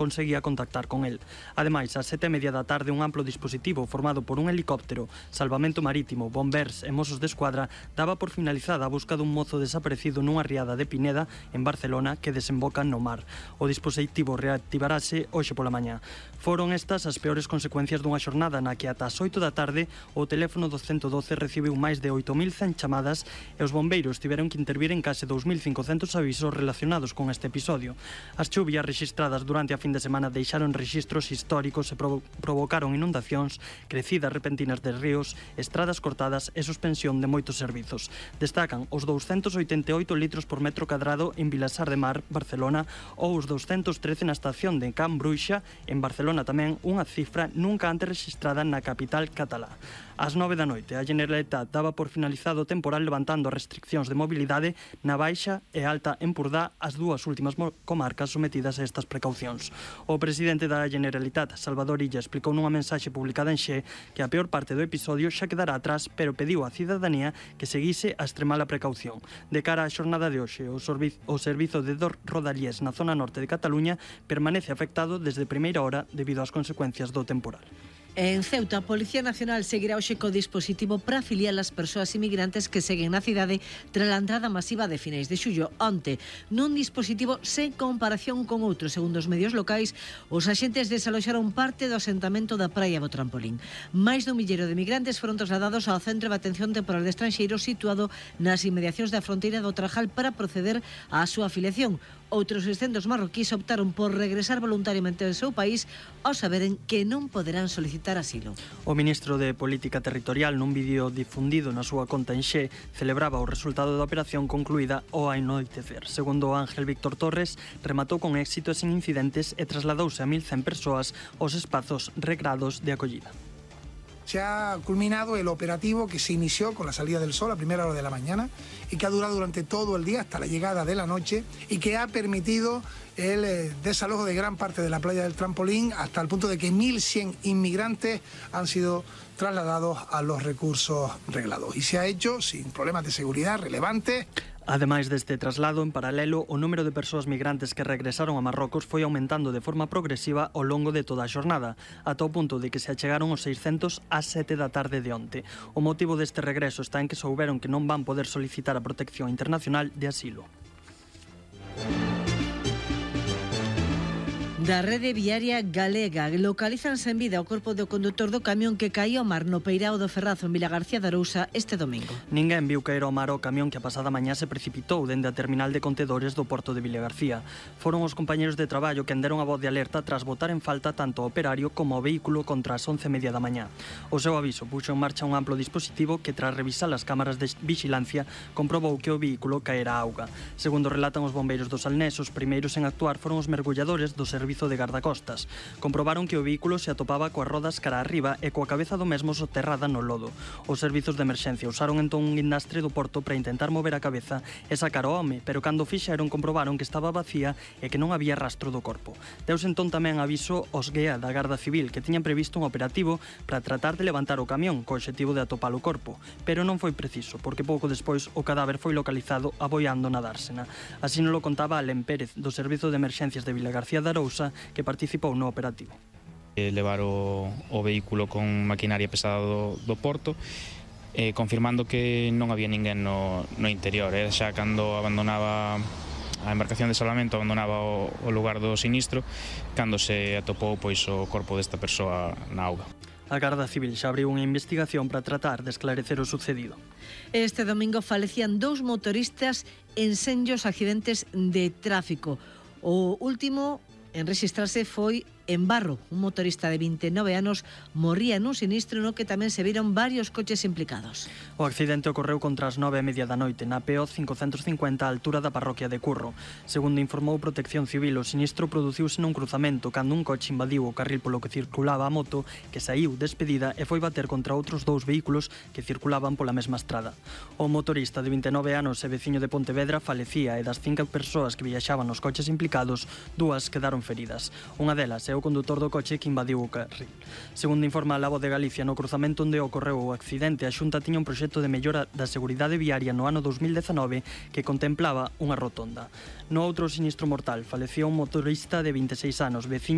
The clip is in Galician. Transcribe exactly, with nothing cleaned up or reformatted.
conseguía contactar con el. Ademais, ás sete e media da tarde, un amplo dispositivo formado por un helicóptero, salvamento marítimo, bombers e mozos de escuadra daba por finalizada a busca dun mozo desaparecido nunha riada de Pineda, en Barcelona, que desemboca no mar. O dispositivo reactivarase hoxe pola mañá. Foron estas as peores consecuencias dunha xornada na que ata as oito da tarde o teléfono do ciento doce recibiu máis de oito mil cen chamadas e os bombeiros tiveron que intervir en case dous mil cincocentos avisos relacionados con este episodio. As chuvias rexistradas durante a fin de semana deixaron rexistros históricos e provo provocaron inundacións, crecidas repentinas de ríos, estradas cortadas e suspensión de moitos servizos. Destacan os douscentos oitenta e oito litros por metro cadrado en Vilasar de Mar, Barcelona, ou os douscentos trece na estación de Can Bruixa, en Barcelona tamén, unha cifra nunca antes rexistrada na capital catalá. Ás nove da noite, a Generalitat daba por finalizado o temporal levantando as restriccións de mobilidade na Baixa e Alta Empordá, as dúas últimas comarcas sometidas a estas precaucións. O presidente da Generalitat, Salvador Illa, explicou nunha mensaxe publicada en Xe que a peor parte do episodio xa quedará atrás, pero pediu á cidadanía que seguise a extremala precaución. De cara á xornada de hoxe, o, o servizo de Rodalies na zona norte de Cataluña permanece afectado desde primeira hora debido ás consecuencias do temporal. En Ceuta, a Policía Nacional seguirá hoxe co dispositivo para afiliar as persoas inmigrantes que seguen na cidade tras a entrada masiva de finais de xullo. Onte, nun dispositivo sen comparación con outros, segundo os medios locais, os axentes desaloxaron parte do asentamento da Praia do Trampolín. Máis dun milleiro de migrantes foron trasladados ao Centro de Atención Temporal de Estranxeiros situado nas inmediacións da fronteira do Trajal para proceder á súa afiliación. Outros seiscentos marroquíes optaron por regresar voluntariamente ao seu país ao saberen que non poderán solicitar asilo. O ministro de Política Territorial, nun vídeo difundido na súa conta en Xe, celebraba o resultado da operación concluída ao anoitecer. Segundo Ángel Víctor Torres, rematou con éxito e sen incidentes e trasladouse a mil cen persoas aos espazos regrados de acollida. Se ha culminado el operativo que se inició con la salida del sol a primera hora de la mañana y que ha durado durante todo el día hasta la llegada de la noche y que ha permitido el eh, desalojo de gran parte de la playa del Trampolín hasta el punto de que mil cien inmigrantes han sido trasladados a los recursos reglados. Y se ha hecho sin problemas de seguridad relevantes. Ademais deste traslado, en paralelo, o número de persoas migrantes que regresaron a Marrocos foi aumentando de forma progresiva ao longo de toda a xornada, ata o punto de que se achegaron os seiscentos ás sete da tarde de onte. O motivo deste regreso está en que souberon que non van poder solicitar a protección internacional de asilo. Da rede viaria galega localizanse en vida o corpo do condutor do camión que caía ao mar no peirao do Ferrazo en Vilagarcía de Arousa este domingo. Ninguén viu caer ao mar o camión que a pasada mañá se precipitou dende a terminal de contedores do porto de Vilagarcía. Foron os compañeros de traballo que deron a voz de alerta tras botar en falta tanto o operario como o vehículo contra as once e media da mañá. O seu aviso puxo en marcha un amplo dispositivo que, tras revisar as cámaras de vixilancia, comprobou que o vehículo caera á auga. Segundo relatan os bombeiros do Salnés, os primeiros en actuar foron os mergulladores do servizo de gardacostas. Comprobaron que o vehículo se atopaba coas rodas cara arriba e coa cabeza do mesmo soterrada no lodo. Os servizos de emerxencia usaron entón un guindastre do porto para intentar mover a cabeza e sacar o home, pero cando fixeron comprobaron que estaba vacía e que non había rastro do corpo. Deus entón tamén aviso aos G E A da Garda Civil que tiñan previsto un operativo para tratar de levantar o camión co obxectivo de atopar o corpo, pero non foi preciso, porque pouco despois o cadáver foi localizado aboiando na dársena. Así nos lo contaba Alén Pérez, do Servizo de Emerxencias de Vilagarcía de Arousa, que participou no operativo. Levar o, o vehículo con maquinaria pesada do, do porto, eh, confirmando que non había ninguén no, no interior. Eh? Xa cando abandonaba a embarcación de salvamento, abandonaba o, o lugar do sinistro, cando se atopou pois o corpo desta persoa na auga. A Garda Civil xa abriu unha investigación para tratar de esclarecer o sucedido. Este domingo falecían dous motoristas en senllos accidentes de tráfico. O último en registrarse foi en Barro. Un motorista de vinte e nove anos morría nun sinistro no que tamén se viron varios coches implicados. O accidente ocorreu contra as nove e media da noite na P O cincocentos cincuenta á altura da parroquia de Curro. Segundo informou Protección Civil, o sinistro produciuse nun cruzamento cando un coche invadiu o carril polo que circulaba a moto, que saíu despedida e foi bater contra outros dous vehículos que circulaban pola mesma estrada. O motorista de vinte e nove anos e veciño de Pontevedra falecía e das cinco persoas que viaxaban nos coches implicados, dúas quedaron feridas. Unha delas é o condutor do coche que invadiu o carril. Segundo informa a Voz de Galicia, no cruzamento onde ocorreu o accidente, a Xunta tiña un proxecto de mellora da seguridade viaria no ano dos mil dezanove que contemplaba unha rotonda. No outro sinistro mortal falecía un motorista de vinte e seis anos, veciño